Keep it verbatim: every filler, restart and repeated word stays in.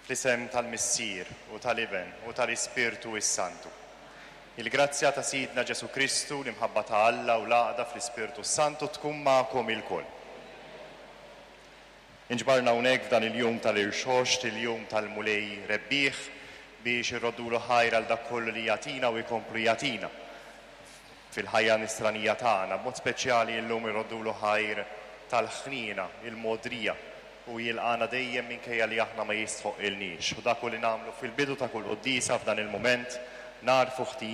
Fl-isem tal-Missier u tal-Iben u tal-Ispirtu s-Santu. Il-grazzja ta' Sidna Ġesù Kristu, l-imħabba ta' Alla u l-għaqda fl-Ispirtu s-Santu tkun magħkom ilkoll. Inġbarna hawnhekk f'dan il-jum tal-Irxoxt, il-jum tal-Mulej Rebbieħ, biex irroddulu ħajr għal dak kollu li jagħtina u jkomplu jagħtina fil-ħajja nisranija tagħna. B'mod speċjali llum irroddulu ħajr tal-ħniena, il-mogħdrija, u jilqagħna dejjem minkejja li aħna ma jistħoqqilniex. U dak li nagħmlu fil-bidu ta' kull quddiesa f'dan il-mument, nagħrfu ħtijietna.